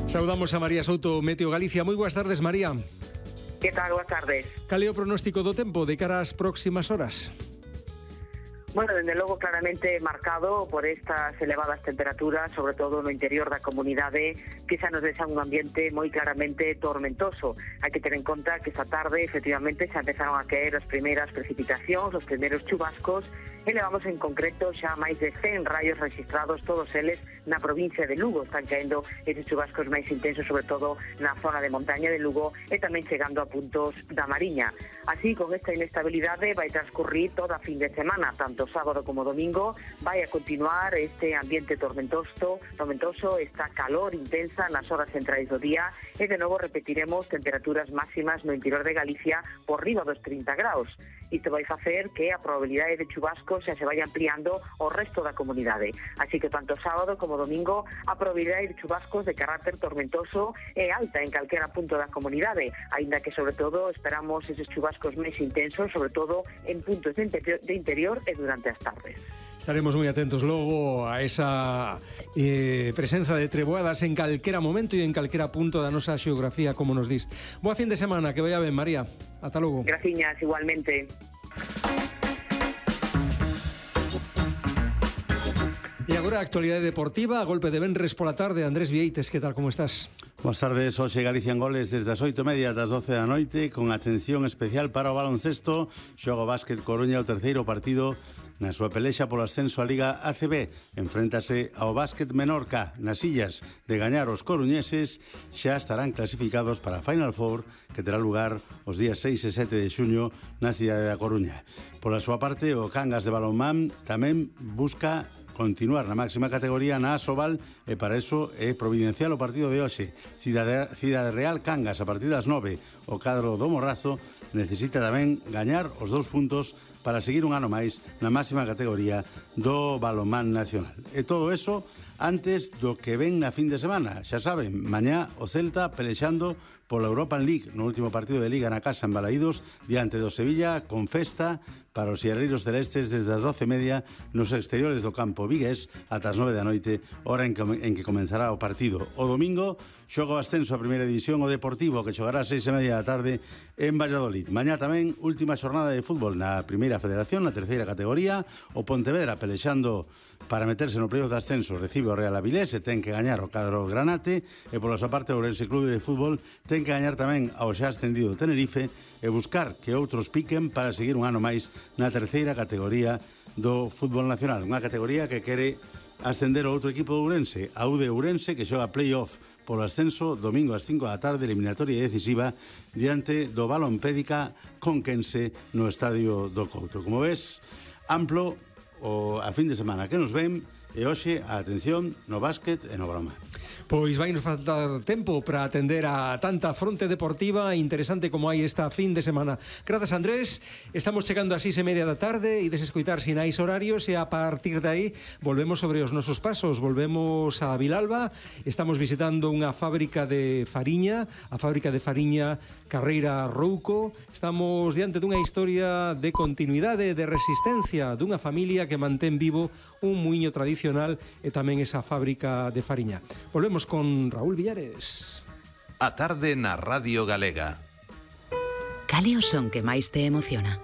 Saudamos a María Souto, Meteo Galicia. Moi boas tardes, María. Que tal? Boas tardes. Cal é o pronóstico do tempo de cara ás próximas horas? Bueno, dende logo claramente marcado por estas elevadas temperaturas, sobre todo no interior da comunidade, que xa nos deixan un ambiente moi claramente tormentoso. Hai que ter en conta que esta tarde, efectivamente, xa empezaron a caer as primeiras precipitacións, os primeiros chubascos, e levamos en concreto xa máis de 100 raios registrados, todos eles na provincia de Lugo. Están caendo estes chubascos máis intensos, sobre todo na zona de montaña de Lugo, e tamén chegando a puntos da Mariña. Así, con esta inestabilidade vai transcurrir toda a fin de semana, tanto sábado como domingo, vai a continuar este ambiente tormentoso, esta calor intensa nas horas centrais do día, e de novo repetiremos temperaturas máximas no interior de Galicia por riba dos 30 graus. Isto vai facer que a probabilidade de chubascos xa se vai ampliando ao resto da comunidade. Así que tanto sábado como domingo a probabilidade de chubascos de carácter tormentoso é alta en calquera punto da comunidade, aínda que sobre todo esperamos eses chubascos máis intensos, sobre todo en puntos de interior e durante as tardes. Estaremos moi atentos logo a esa presenza de treboadas en calquera momento e en calquera punto da nosa xeografía, como nos dis. Boa fin de semana, que vaya ben, María. Ata logo. Graciñas, igualmente. E agora a actualidade deportiva, a golpe de venres pola tarde. Andrés Vieites, que tal, como estás? Boas tardes, hoxe Galicia en goles desde as 8:30 ás 12 da noite, con atención especial para o baloncesto. Xoga o Básquet Coruña o terceiro partido na súa pelexa polo ascenso á Liga ACB. Enfréntase ao Básquet Menorca. Nas illas de gañar os coruñeses xa estarán clasificados para a Final Four, que terá lugar os días 6 e 7 de xuño na cidade da Coruña. Pola súa parte, o Cangas de balonmán tamén busca continuar na máxima categoría na Asobal, e para eso é providencial o partido de hoxe. Cidade Real Cangas a partir das 9. O cadro do Morrazo necesita tamén gañar os 2 puntos para seguir un ano máis na máxima categoría do balonmán nacional. E todo eso antes do que ven na fin de semana. Xa saben, mañá o Celta pelexando pola Europa League no último partido de Liga na casa en Balaídos diante do Sevilla, con festa para os sierreiros celestes desde as 12:30 nos exteriores do campo vigués ata as 9 da noite, hora en que comenzará o partido. O domingo xoga o ascenso a primeira división o Deportivo, que xogará a 6:30 da tarde en Valladolid. Mañá tamén última xornada de fútbol na primeira federación, na terceira categoría. O Pontevedra pelexando para meterse no playoff de ascenso recibe o Real Avilés e ten que gañar o cadro Granate, e pola súa parte o Ourense Clube de Fútbol ten que gañar tamén ao xa ascendido Tenerife e buscar que outros piquen para seguir un ano máis na terceira categoría do fútbol nacional, unha categoría que quere ascender o outro equipo do Ourense, a UD Ourense, que xoga playoff polo ascenso domingo ás 5 da tarde, eliminatoria decisiva diante do Balompédica Conquense no Estadio do Couto. Como ves, amplo a fin de semana que nos ven, e hoxe a atención no básquet e no balonmán. Pois vai nos faltar tempo para atender a tanta fronte deportiva interesante como hai esta fin de semana. Grazas, Andrés. Estamos chegando ás 6:30 da tarde e desescoitar sinais horarios, e a partir de aí volvemos sobre os nosos pasos. Volvemos a Vilalba. Estamos visitando unha fábrica de fariña, a fábrica de fariña Carreira Rouco. Estamos diante dunha historia de continuidade, de resistencia dunha familia que mantén vivo un muiño tradicional e tamén esa fábrica de fariña. Volvemos con Raúl Villares. A tarde na Radio Galega. Cal é o son que máis te emociona?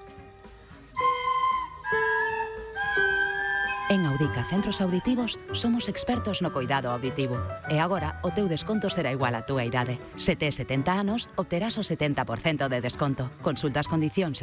En Audica Centros Auditivos somos expertos no coidado auditivo, e agora o teu desconto será igual á túa idade. Se tes 70 anos, obterás o 70% de desconto. Consulta as condicións